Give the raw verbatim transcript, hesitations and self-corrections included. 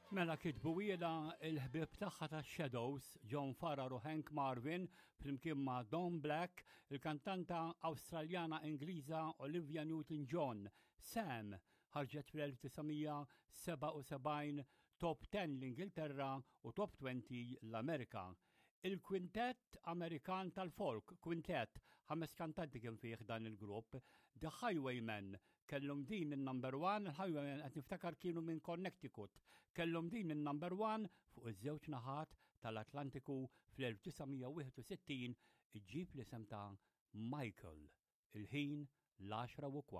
Mela kitbuhielha il-ħbieb tagħha ta' Shadows, John Farrar u Hank Marvin, flimkien ma' Don Black, il-kantanta Awstraljana Ingliża Olivia Newton-John. Sam ħarġet fl-elf disa' mija sebgħa u sebgħin, top ten l-Ingilterra u top twenty l-Amerika. Il-kwintet Amerikan tal-folk, kwintet, ħames kantanti kien fih dan il-grupp, The Highwaymen, kellhom din il-number one. Il-Highwaymen, qed niftakar, kienu minn Connecticut, kellhom din il-number one fuq iż-żewġ naħat tal-Atlantiku fl-elf disa' mija wieħed u sittin, iġġib l-isem ta' Michael. Il-ħin l-għaxra u kwart.